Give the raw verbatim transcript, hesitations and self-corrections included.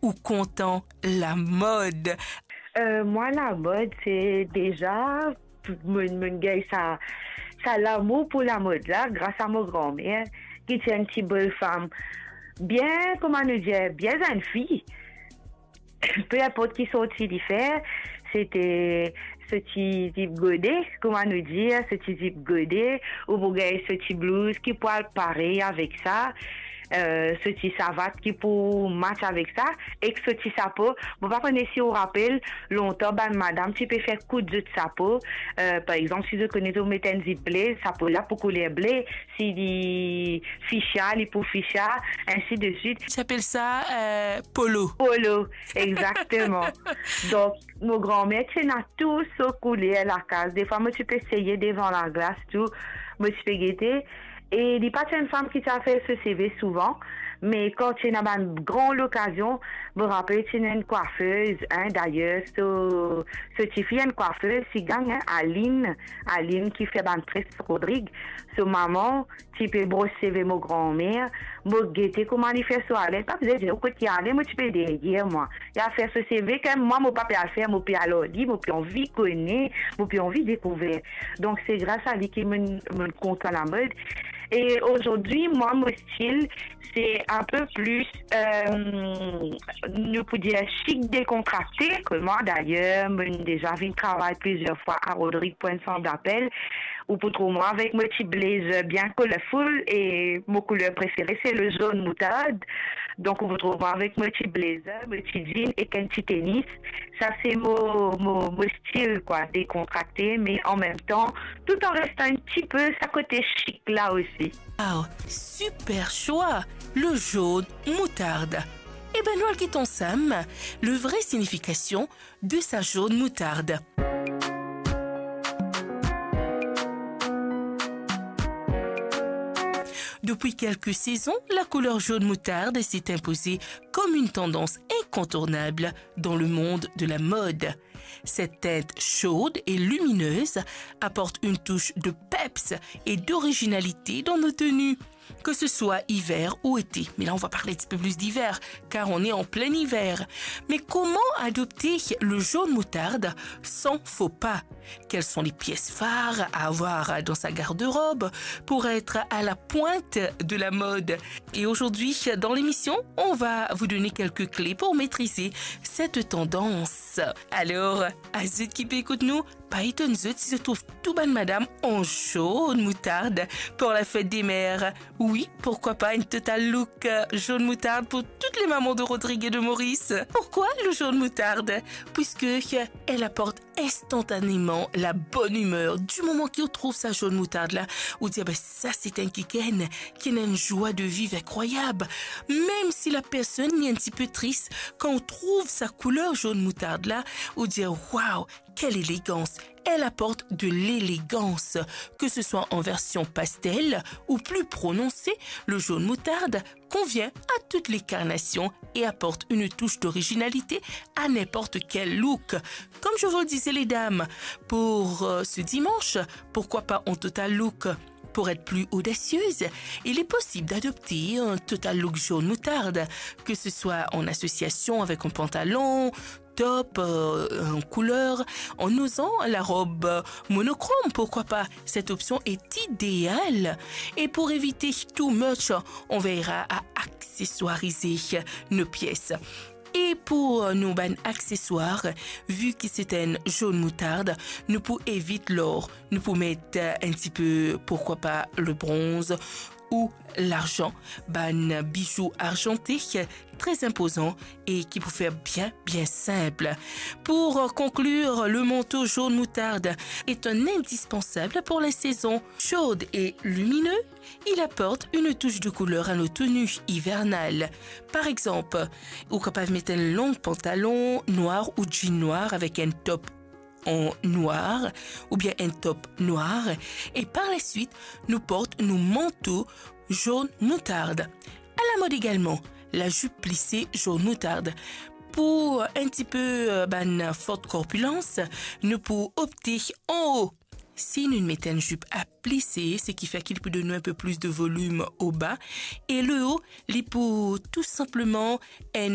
Ou kontan lamod? Euh, mwa, lamod, se deza, monn, monn gagn sa, sa lamour pou lamod la, gras a mo granmer, ki ti enn ti bel fam, bien, kouma nou dir, bien zenn fi. Pe inport ki sorti li fer, se ti so ti zip gode, kouma nou dir, so ti zip gode, ou pou gagn so ti blouz ki pou al parey avek sa, euh, so ti savat ki pou match avek sa, ek so ti sapo. Mo pa kone si ou rapel, lontan bann madam ti pe fer koud zot sapo. Euh, par exanp, si zot kone zot met enn zip ble, sapo la pou kouler ble, si li ficha, li pou ficha, ensi de swit. Ti apel sa, euh, polo. Polo, exakteman. Donk, mo granmer ti ena tou so kouler lakaz. Defwa, mo ti pe seye devan laglas tou, mo ti pe gete. E li pa ti enn fam ki ti al fer so seve souvan, me kan ti ena bann gran lokazion, mo rapel ti ena enn kwafez, hein, dayer, so, so tifi enn kwafez, ti gang, hein, Aline, Aline ki fer bann tres Rodrig. So mama ti pe bros seve mo granmer, mo gete kouma li fer so ale, pa bizin dir kot li ale, mo ti pe deryer mwa. Li al fer so seve, kan mwa mo pa pe al fer, mo pe al ar li, mo pe anvi kone, mo pe anvi dekouver. Donk, se gras a li ki monn, monn kontan lamod. E azordi, mwa, mo stil, se inpe plis, euh, nou pou dir, chik, dekontrakte. Kouma, dayer, monn deza vinn travay plizier fwa a Rodrig pou enn sant dapel. Ou pou trouv mwa avek mo ti blazer bien colorful e mo kouler prefere se le zone moutarde. Donk, ou pou trouv mwa avek mo ti blazer, mo ti jean ek enn ti tenis. Sa se mo, mo, mo stil, kwa, dekontrakte, me an mem tan, tout an restan enn tipe sa kote chik la osi. Wow, super choix, le jaune moutarde. Eh ben, nou al get ansam le vrai signification de sa jaune moutarde. Depuis quelques saisons, la couleur jaune moutarde s'est imposée comme une tendance incontournable dans le monde de la mode. Cette teinte chaude et lumineuse apporte une touche de peps et d'originalité dans nos tenues, que ce soit hiver ou été. Mais là, on va parler un petit peu plus d'hiver, car on est en plein hiver. Mais comment adopter le jaune moutarde sans faux pas ? Quelles sont les pièces phares à avoir dans sa garde-robe pour être à la pointe de la mode ? Et aujourd'hui, dans l'émission, on va vous donner quelques clés pour maîtriser cette tendance. Alors, à zot ki pe ekout nou, pa etonn zot si zot trouv tou bann madam en jaune moutarde pour la fête des mères. Oui, pourquoi pas une total look, euh, jaune moutarde pour toutes les mamans de Rodrigue et de Maurice. Pourquoi le jaune moutarde ? Puisque, euh, elle apporte instantanément la bonne humeur. Du moment ki ou trouv sa jaune moutarde la, ou dir, "Ah ben, sa se enn kikenn ki ena enn joie de vivre incroyable." Mem si la personn li enn tipe tris, kan ou trouv sa couleur jaune moutarde la, ou dir, "Waouh, quelle élégance ! Elle apporte de l'élégance." Que ce soit en version pastel ou plus prononcée, le jaune moutarde convient à toutes les carnations et apporte une touche d'originalité à n'importe quel look. Comme je vous le disais, les dames, pour, euh, ce dimanche, pourquoi pas en total look ? Pour être plus audacieuse, il est possible d'adopter un total look jaune moutarde, que ce soit en association avec un pantalon, top, euh, en couleur, en osant la robe, euh, monochrome, pourquoi pas ? Cette option est idéale. Et pour éviter too much, on veillera à accessoiriser nos pièces. E pou nou bann akseswar, vi ki se enn jaune moutarde, nou pou evit lor, nou pou met, euh, enn tipe, pourquoi pas, le bronze ou larzan, bann bijou arzante, très imposant et qui peut faire bien, bien simple. Pour conclure, le manteau jaune moutarde est un indispensable pour les saisons chaudes et lumineuses. Il apporte une touche de couleur à nos tenues hivernales. Par exemple, ou kapav met enn long pantalon nwar ou jean nwar avek enn top an nwar oubien enn top nwar, e par la swit, nou port nou manto jaune moutarde. À la mode également, la jupe plissée jaune moutarde. Pou enn tipe, euh, bann fort korpilans, nou pou opte anwo. Si nou met enn zip a plise, seki fer ki li pou donn nou enn pe plis de volim o ba, e leo, li pou tou sinpleman enn